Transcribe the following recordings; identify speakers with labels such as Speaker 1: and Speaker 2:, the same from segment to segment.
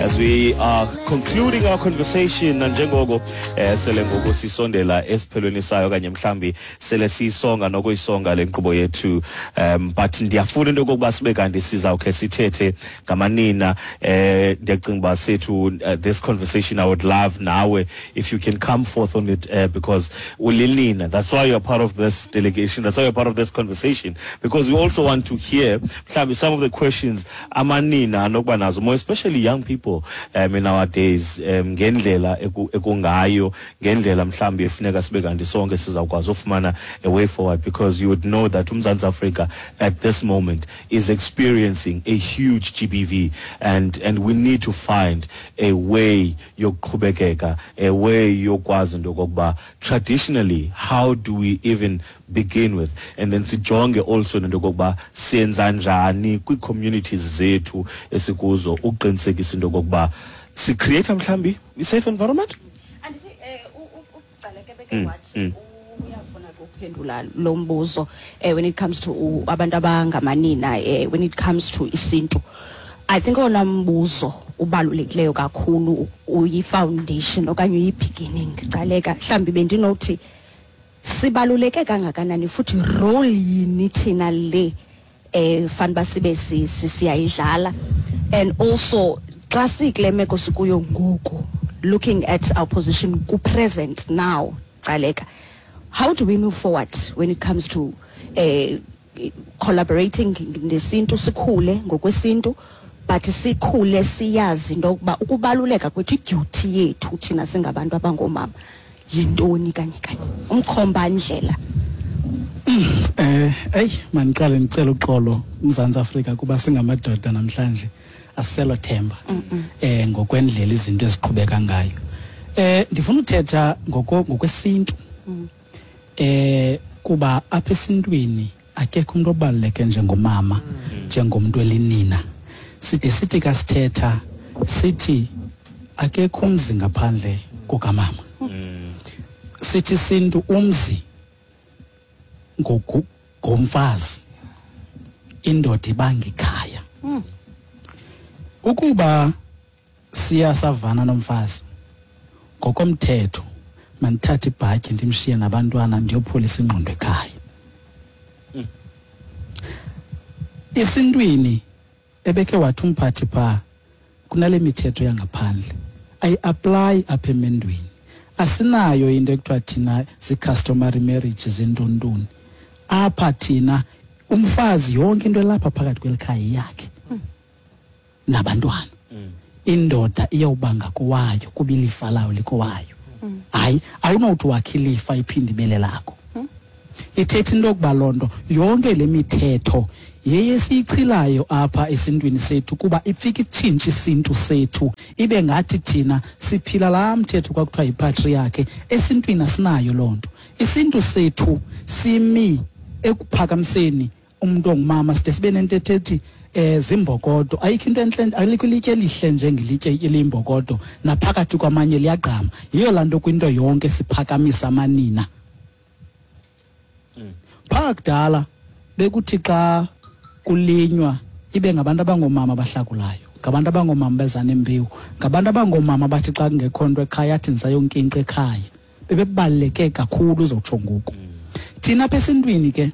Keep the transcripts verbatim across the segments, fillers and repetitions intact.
Speaker 1: As we are concluding our conversation, nanjengoko eh, sele ngoku sisondela esiphelweni sayo okanye mhlambi sele siyisonga nokuyisonga le nkqubo yethu, um but ndiyafuna into yokokuba sibe kanti sizawukhe sithethe ngamanina. eh ndiyacinga uba sethu, uh, this conversation, I would love nawe if you can come forth on it, uh, because ulinina, that's why you're part of this delegation, that's why you're part of this conversation, because we also want to hear mhlawumbi some of the questions amanina anokuba nazo, more especially young people um, in our days, um, ngendlela eku- ekungayo, ngendlela mhlawumbi efuneka sibe kanti sonke sizawukwazi ufumana a way forward, because you would know that uMzantsi Afrika at this moment is experiencing a huge G B V, and and we need to find a way yokuqhubekeka, a way yokwazi into yokokuba traditionally how do we even begin with, and then sijonge also nento yokokuba siyenza njani kwii-communities zethu esikuzo ukuqinisekisa into yokokuba si-create mhlawumbi i-safe environment.
Speaker 2: Andithi eh uGcaleka beke wathi uyafuna ukuphendula lo mbuzo eh when it comes to u- abantu abangamanina, eh when it comes to isintu. I think ona mbuzo ubalulekileyo kakhulu, uyi-foundation okanye uyi-beginning, Gcaleka, mhlawumbi bendinothi sibaluleke kangakanani futhi role yini thina le eh fanele sibe si- si- siyayidlala, and also xa sikule meko sikuyo ngoku, looking at our position ku present now, Gcaleka, how do we move forward when it comes to eh collaborating nesintu, sikhule ngokwesintu, but sikhule siyazi into yokuba ukubaluleka kwethu, i-duty yethu thina singabantu abangomama yintoni kanye kanye, umkhombandlela?
Speaker 3: Eh ey maniqale ngicela uxolo, uMzantsi Afrika, kuba singamadoda namhlanje asiselo themba eh ngokwendlela izinto eziqhubeka ngayo. Eh ndifuna uthetha ngoko ngokwesintu. Eh kuba apha esintwini akekho umuntu obaluleke njengomama, njengomuntu elinina. Side sithi kasithetha sithi akekho umzi ngaphandle kukamama. Sithi sintu umzi ngoku ngomfazi, indoda ibanga ikhaya. Ukuba siyasavana nomfazi ngokomthetho, mandithathe ibhatyi ndimshiye nabantwana ndiyopholisa ingqondo ekhaya. Esintwini ebekhe wathi umphathi pha kunale mithetho yangaphandle ayi-apply apha emendweni. Asinayo into ekuthiwa thina zii-customary marriage zintontoni apha. Thina umfazi yonke into elapha phakathi kweli khaya yakhe nabantwana. Indoda iyawubanga kowayo kuba ilifa lawo likowayo. Hayi, awunowuthi wakhe ilifa iphinde ibele lakho. Ithetha into yokuba loo nto yonke le mithetho yeye siyichilayo apha esintwini sethu, kuba ifike itshintshe isintu sethu, ibe ngathi thina siphila laa mthetho kwakuthiwa yi-patriarchy. Esintwini asinayo loo nto. Isintu sethu simi ekuphakamiseni umuntu ongumama. Side sibe nentetho ethi eh zimbokodo, ayikho into entle, alikho ilitye elihle njengelitye eliyimbokodo, naphakathi kwamanye liyagqama. Yiyo laa nto kwinto yonke siphakamisa amanina. Phaa kudala bekuthi xa kulinywa ibe ngabantu abangoomama abahlakulayo, ngabantu abangoomama beza nembewu, ngabantu abangoomama bathi xa kungekho nto ekhaya athi ndisayonkinqa ekhaya. Bebebaluleke kakhulu uzotsho ngoku. Thina apha esintwini ke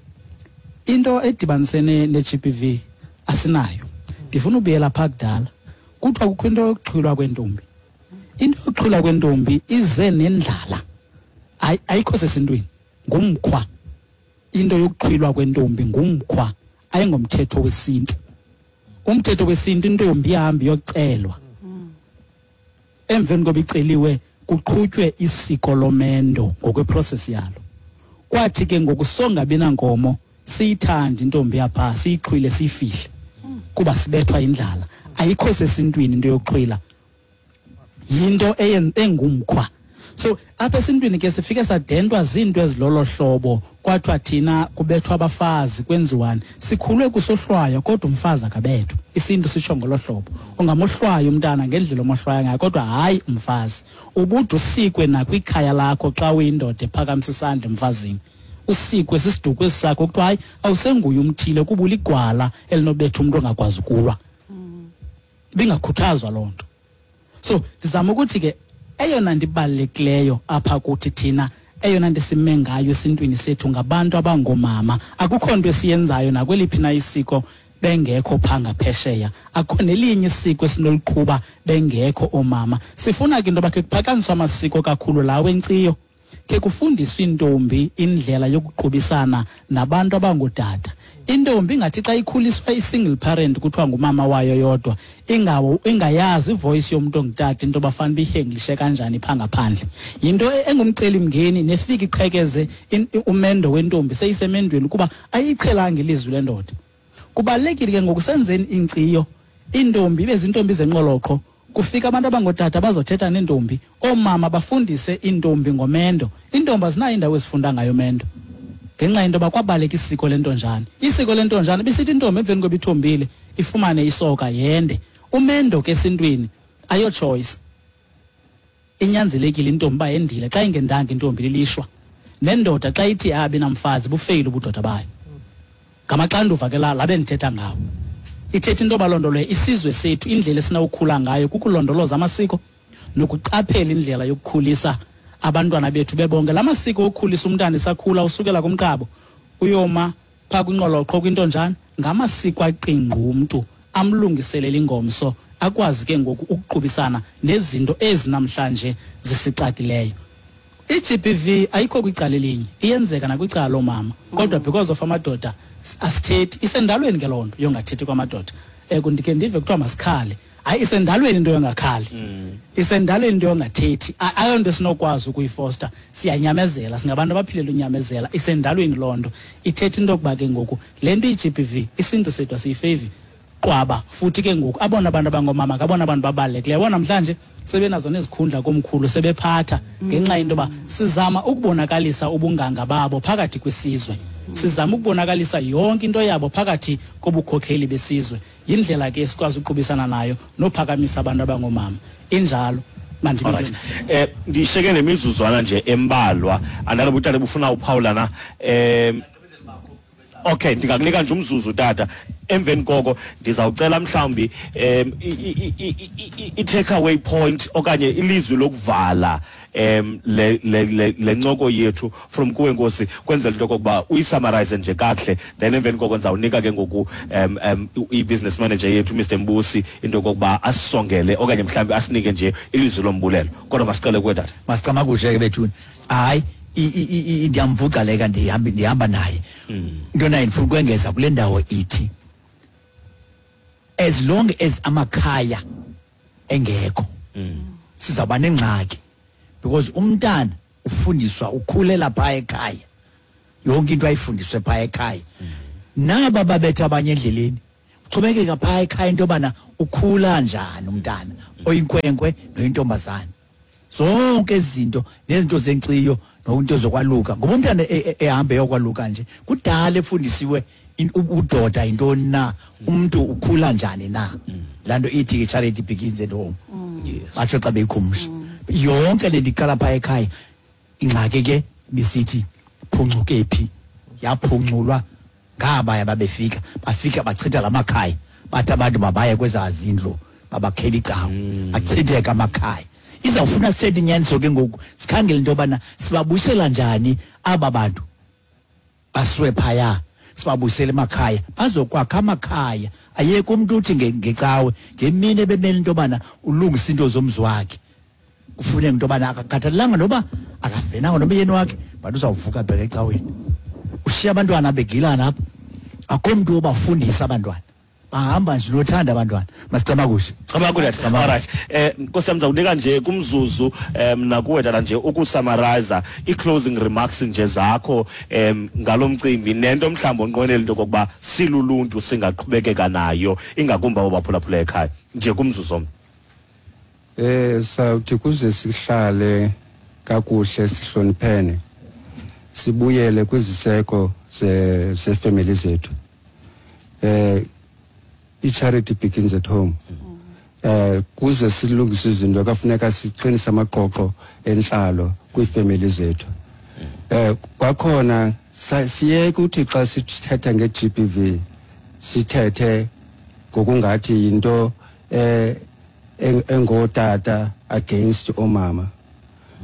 Speaker 3: into edibanisene ne-G B V asinayo. Ndifuna ubuyela phaa kudala. Kuthiwa kukho into yokuxhilwa kwentombi. Into yokuxhilwa kwentombi ize nendlala. Ayikho sesintwini, ngumkhwa. Into yokuxhilwa kwentombi ngumkhwa, ayingomthetho wesintu. Umthetho wesintu, intombi ihambe iyocelwa. Emveni koba iceliwe kuqhutywe isiko lomendo ngokwe-process yalo. Kwathi ke ngoku songabi nankomo, siyithande intombi yapha, siyixhwile, siyifihle kuba sibethwa indlala. Ayikho sesintwini into yokuxhwila, yinto engumkhwa. So apha esintwini ke sifike sadentwa zinto ezilolo hlobo, kwathiwa thina kubethwa abafazi, kwenziwani. Sikhulwe kusohlwaywa, kodwa umfazi akabethwa. Isintu sitsho ngolo hlobo, ungamohlwaya umntana ngendlela omohlwaya ngayo, kodwa hayi umfazi. Ubude usikwe nakwikhaya lakho xa uyindoda ephakamisa isandla emfazini, usikwe sisiduko esi sakho, kuthiwa hayi, awusenguye umthile kuba uligwala elinobetha umntu ongakwazi ukulwa. Ibingakhuthazwa loo nto. So ndizama ukuthi ke eyona nto ibalulekileyo apha kuthi thina, eyona nto sime ngayo esintwini sethu ngabantu abangomama, akukho nto esiyenzayo nakweliphi na isiko bengekho phaa ngaphesheya, akukho nelinye isiko esinoliqhuba bengekho oomama. Sifuna ke into yoba khe kuphakanyiswe amasiko kakhulu lawo enkciyo, khe kufundiswe intombi indlela yokuqubisana nabantu abangootata. Intombi ingathi xa ikhuliswa i-single parent kuthiwa ngumama wayo yodwa, ingawo ingayazi ivoice yomntu ongutata into bafanele biyihenglishe kanjani phaa ngaphandle. Yinto engumcelimngeni nefika iqhekeze umendo wentombi seyisemendweni kuba ayiqhelanga ilizwi lendoda. Kubalulekile ke ngokusenzeni inkciyo, intombi ibe zintombi zenqoloqho, kufika abantu abangootata bazothetha neentombi, oomama bafundise iintombi ngomendo. Iintombi azinayo indawo ezifunda ngayo umendo ngenxa yento yoba kwabaleka isiko lentonjane. Isiko lentonjane bisithi intombi emveni koba ithombile ifumane isoka yende. Umendo ke esintwini ayo choice, inyanzelekile intombi uba yendile. Xa ingendanga intombi lilishwa. Nendoda xa ithi abe namfazi bufeyile ubudoda bayo. Ngamaxanduva ke la labe ndithetha ngawo. Ithetha into yoba loo nto leyo isizwe sethu indlela esinawukhula ngayo kukulondoloza amasiko nokuqaphela indlela yokukhulisa abantwana bethu bebonke. La masiko okukhulisa umntana esakhula usukela kumqabo uyoma phaa kwinqoloqho kwintonjane, ngamasiko aqingqa umntu amlungiselele ingomso akwazi ke ngoku ukuqubisana nezinto ezi namhlanje zisixakileyo. I-G B V ayikho kwicala elinye, iyenzeka nakwicala loomama, kodwa because of amadoda asithethi. Isendalweni ke loo nto yongathethi kwamadoda. Um ndikhe ndive kuthiwa masikhale. Hayi, isendalweni into yongakhali, isendalweni into yongathethi. Ayonto esinokwazi ukuyifosta, siyanyamezela, singabantu abaphilela unyamezela. Isendalweni loo nto. Ithetha into yokuba ke ngoku le nto iyi-G B V isintu sethu asiyifevi qwaba. Futhi ke ngoku abona abantu abangoomama ngabona abantu babalulekileyo. Yabona namhlanje sebenazo nezikhundla komkhulu, sebephatha ngenxa yento yoba sizama ukubonakalisa ubunganga babo phakathi kwesizwe, sizama ukubonakalisa yonke into yabo phakathi kobukhokheli besizwe. Yindlela ke esikwazi ukuqubisana nayo nophakamisa abantu abangoomama. Injalo.
Speaker 1: Alright. Eh ndisheke nemizuzwana nje embalwa, andaloba utata bufuna uphawula na. Eh okay, ndingakunika nje umzuzu tata. Emveni koko ndizawucela mhlawumbi um i-take away point okanye ilizwi lokuvala um le le le ncoko yethu from kuwe Nkosi, kwenzela into okokuba uyisummarize nje kakuhle, then emveni koko ndizawunika ke ngoku um um i-business manager yethu Mister Mbusi into okokuba asisongele okanye mhlawumbi asinike nje ilizwi lombulelo. Kodwa masiqale kuwe tata.
Speaker 4: Masicamakushe ke bethuni. Hayi, ndiyamvuca leka ndihamba ndihamba naye. Into naye ndifuna ukwengeza kule ndawo ithi as long as amakhaya engekho sizawuba nengxaki, because umntana ufundiswa ukhulela phaa ekhaya, yonke into ayifundiswe phaa ekhaya. Naba babetha abanye endleleni uxhomekeka phaa ekhaya into yobana ukhula njani umntana oyinkwenkwe noyintombazana. Zonke izinto nezinto zenkciyo nokunto zokwaluka, ngoba umntana ehambe yokwaluka nje kudala efundisiwe ubudoda yintoni na, umuntu ukhula njani na. Laa nto ithi ke charity begins at home, batsho xa beyikhumsha yonke le nto iqala phaa ekhaya. Ingxaki ke bisithi phuncuke phi, yaphunculwa ngabaya babefika, bafika bachitha la makhaya, bathi abantu mabaye kwezaa zindlu babakhela icawa, achitheka amakhaya. Izawufuna sithethe inyaniso ke ngoku, sikhangele into yobana sibabuyisela njani aba bantu basiwe phaya, sibabuyisele emakhaya, bazokwakha amakhaya. Ayekho umntu uthi ngecawe ngemini ebemele into yobana ulungisa into zomzi wakhe, kufuneka into yobana akakhathalelanga noba akavenanga nomyeni wakhe, but uzawuvuka abheke ecaweni. Ushiya abantwana begilana apha, akho mntu obafundisa abantwana, bahamba nje nothanda abantwana. Masicamakushe.
Speaker 1: Camakushe. Alright. Eh Nkosi yam, ndizawunika nje kumzuzu um nakuwe tata nje ukusummarize i-closing remarks nje zakho um ngalo mcimbi nento mhlawumbi onqwenela into okokuba siluluntu singaqhubekeka nayo, ingakumbi abo baphulaphula ekhaya, nje kumzuzu omnye.
Speaker 5: Eh sawuthi kuze sihlale kakuhle sihloniphene, sibuyele kwiziseko ze zefamily zethu. Eh i-charity begins at home. Eh kuze silungise izinto kufuneka siqinise amaqoqo enhlalo kwiifamily zethu. Eh kwakhona siyeke uthi xa sithetha nge-G B V sithethe ngokungathi yinto eh engotata against omama.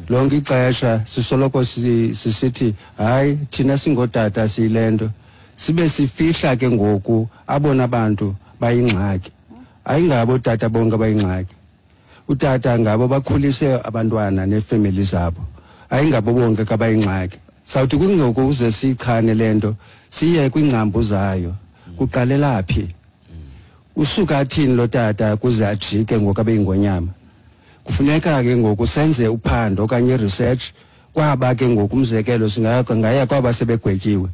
Speaker 5: Lonke ixesha sisoloko sisithi hayi thina singotata siyilento, sibe sifihla ke ngoku abona abantu bayingxaki. Ayingabo otata bonke abayingxaki. Utata ngabo bakhulise abantwana neefemeli zabo, ayingabo bonke kabayingxaki. Sawuthi kungoku uze siyichane le nto, siye kwiingcambu zayo. Kuqalela phi? Usuka athini lo tata kuze ajike ngoku abe yingonyama? Kufuneka ke ngoku senze uphando okanye research kwaba ke ngoku, umzekelo singaya kwaba sebegwetyiwe.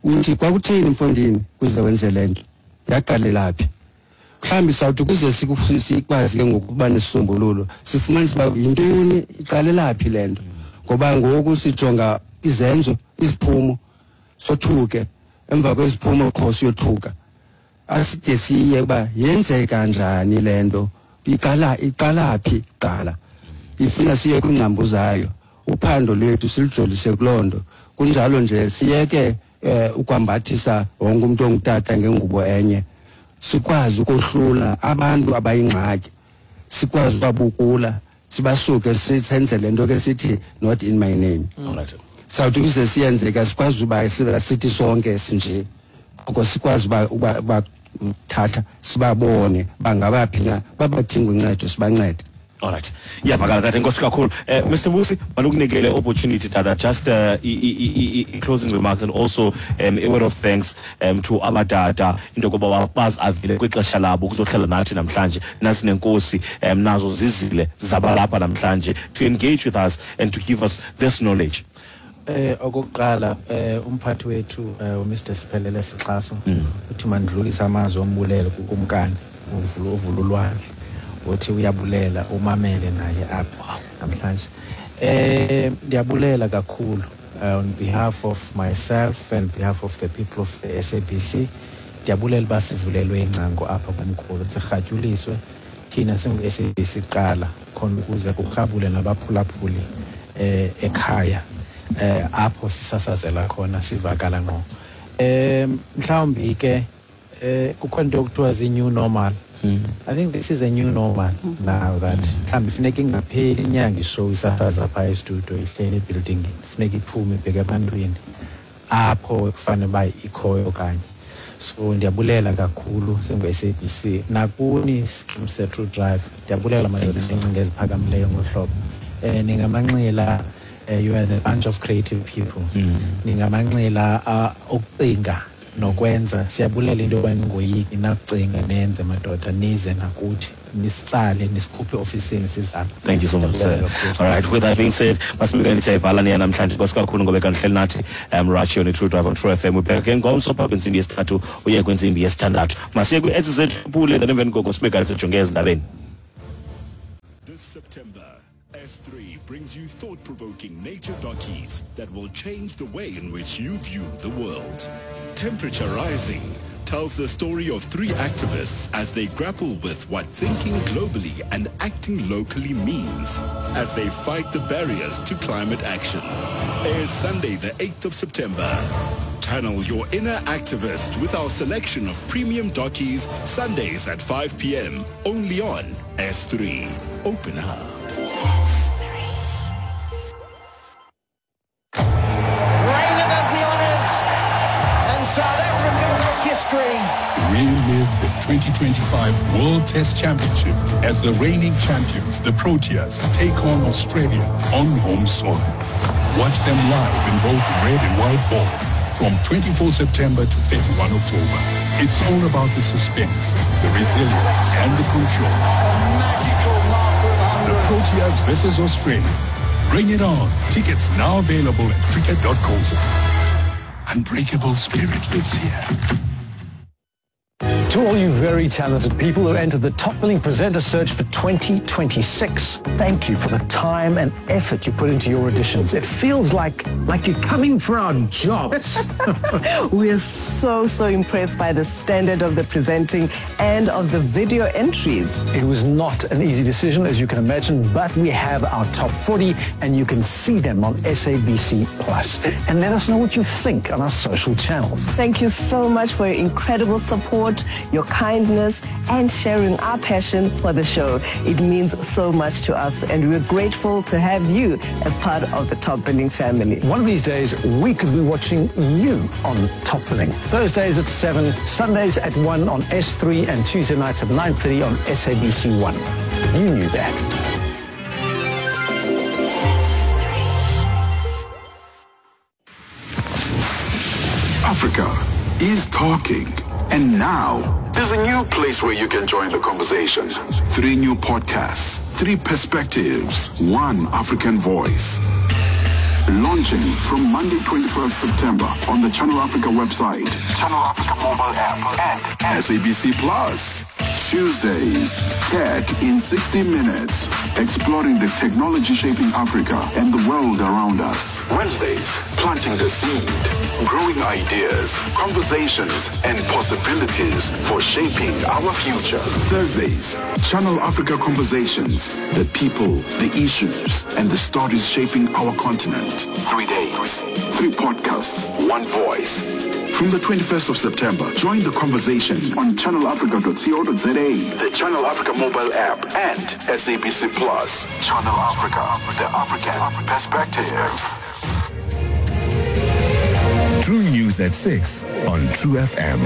Speaker 5: Uthi kwakuthini mfondini kuze wenze le nto? Yaqalela phi? Mhlawumbi sawuthi kuze sikwazi ke ngoku ukuba nesisombululo, sifumanise uba yintoni, iqalela phi le nto. Ngoba ngoku sijonga izenzo, iziphumo, sothuke. Emva kweziphumo qho siyothuka. Aside siye uba yenzeka njani le nto, iqala iqala phi kuqala. Ifuna siye kwiingcambu zayo. Uphando lwethu silijolise kuloo nto. Kunjalo nje siyeke ukwambathisa wonke umntu ongutata ngengubo enye. Sikwazi ukohlula abantu abayingxaki, sikwazi ubabukula, sibasuke senze le nto ke sithi not in my name. Sawuthi kuze siyenzeka sikwazi uba sithi sonke sinje, koko sikwazi uba uba thatha sibabone bangabaphi na, babadinga uncedo sibancede.
Speaker 1: All right. Iyavakala tata, enkosi kakhulu. Uh, Mister Musi, malukunikele opportunity tata, just uh, i, i, i, closing remarks and also um, a word of thanks um, to abatata into yokuba bazavile kwixesha labo ukuzohlala nathi namhlanje, nasi nenkosi um, nazo zizile zabalapha namhlanje to engage with us and to give us this knowledge.
Speaker 6: Eh okokuqala eh umphathi wethu uMr Siphelele Sixaso uthi mandlulisa amazwi ombulelo kukumkani ovula ulwandle, uthi uyabulela umamele naye apha namhlanje. Eh ndiyabulela kakhulu on behalf of myself and behalf of the people of the S A B C. Ndiyabulela basivulelwe ingcango apha kumkhulu, sirhatyuliswe thina singu S A B C kuqala khona ukuze kurhabule nabaphulaphuli eh ekhaya eh apho sisasazela khona sivakala ngqo. Eh mhlawumbi ke eh kukhona into okuthiwa zi new normal. Mm. I think this is a new normal now that mhlawumbi funeka ingapheli inyanga ishow isasaza phaa estudio ihleli ebuilding, funeka iphume ibheke ebantwini apho kufanele uba ikhoyo kanye. So ndiyabulela kakhulu singu-S A B C nakuni scheme se-True Drive, ndiyabulela madoda nengcinga eziphakamileyo ngohlobo. Eh ningamanxila, you are the bunch of creative people. Ningamanxila okucinga nokwenza. Siyabulela into yoba ningoyiki nakucinga nenze madoda, nize nakuthi nisitsale nisikhuphe ofisini sizame.
Speaker 1: Thank you so much, sir. All right, with that being said, masibukeni siyayivala niya namhlanje. Nkosi kakhulu ngoba kandihleli nathi um right here on True Drive on True F M. We're back again ngomso phaa kwintsimbi yesithathu uye kwintsimbi yesithandathu. Masiye kwi-Etsy zethu pule then emveni koko sibe kanti sijonge ezindabeni.
Speaker 7: This September, S three brings you thought-provoking nature dockies that will change the way in which you view the world. Temperature Rising tells the story of three activists as they grapple with what thinking globally and acting locally means as they fight the barriers to climate action. Airs Sunday, the eighth of September. Channel your inner activist with our selection of premium dockies, Sundays at five p m only on S three. Open up.
Speaker 8: S three.
Speaker 9: Raina does the honors, and South Africa make history.
Speaker 10: Relive the twenty twenty-five World Test Championship as the reigning champions, the Proteas, take on Australia on home soil. Watch them live in both red and white ball from twenty-fourth September to thirty-first October. It's all about the suspense, the resilience, and the control. The Proteas versus Australia. Bring it on. Tickets now available at cricket dot co. Unbreakable spirit lives here.
Speaker 11: To all you very talented people who entered the top billing presenter search for twenty twenty-six, thank you for the time and effort you put into your auditions. It feels like, like you're coming for our jobs.
Speaker 12: We're so, so impressed by the standard of the presenting and of the video entries.
Speaker 11: It was not an easy decision, as you can imagine, but we have our top forty and you can see them on S A B C Plus.
Speaker 12: And
Speaker 11: And let us know what you think on our social channels.
Speaker 12: Thank you so much for your incredible support. your kindness, and sharing our passion for the show. It means so much to us, and we're grateful to have you as part of the Top Billing family.
Speaker 11: One of these days, we could be watching you on Top Billing. Thursdays at seven, Sundays at one on S three, and Tuesday nights at nine thirty on S A B C one. You knew that.
Speaker 10: Africa is talking. And now, there's a new place where you can join the conversation. Three new podcasts, three perspectives, one African voice. Launching from Monday twenty-first September on the Channel Africa website, Channel Africa mobile app, and S A B C Plus. Tuesdays, Tech in sixty minutes, exploring the technology shaping Africa and the world around us. Wednesdays, planting the seed, growing ideas, conversations, and possibilities for shaping our future. Thursdays, Channel Africa Conversations, the people, the issues, and the stories shaping our continent. Three days, three podcasts, one voice. From the twenty-first of September, join the conversation on channel africa dot co dot za, the Channel Africa mobile app, and S A B C Plus. Channel Africa, the African perspective.
Speaker 7: True News at six on True F M.